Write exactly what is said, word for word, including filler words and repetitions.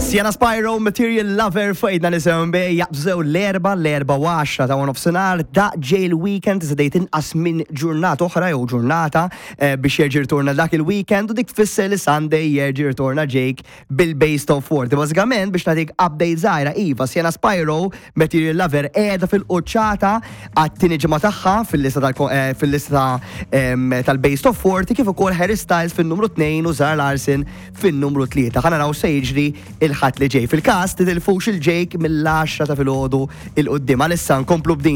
Sienna Spyro, Material Lover, fajna nisimgħu bi, jaqbżew l-erbgħa, l-erbgħa u għaxra ta' nofsinhar, da ġej il-weekend, iżda inqas minn ġurnata oħra jew ġurnata eh, biex jerġa' jirtorna dak il-weekend u dik tfisser li Sunday jerġa' jirtorna Jake bil-Best of Forty. Bażikament biex nagħtik update żgħira, iva, Sienna Spyro, Material Lover qiegħda fil-quċċata għat-tieni ġimgħa tagħha fil-lista tal- eh, fil-lista em, tal-Best of forty, kif ukoll Harry Styles fin-numru tnejn u Zara Larsson fin-numru tlieta. Ħa naraw se jiġri il-Ħadd li ġej. Fil-każ titilfux il-Jake mill-għaxra ta' filgħodu 'l quddiem. Għalissa nkomplu b'din.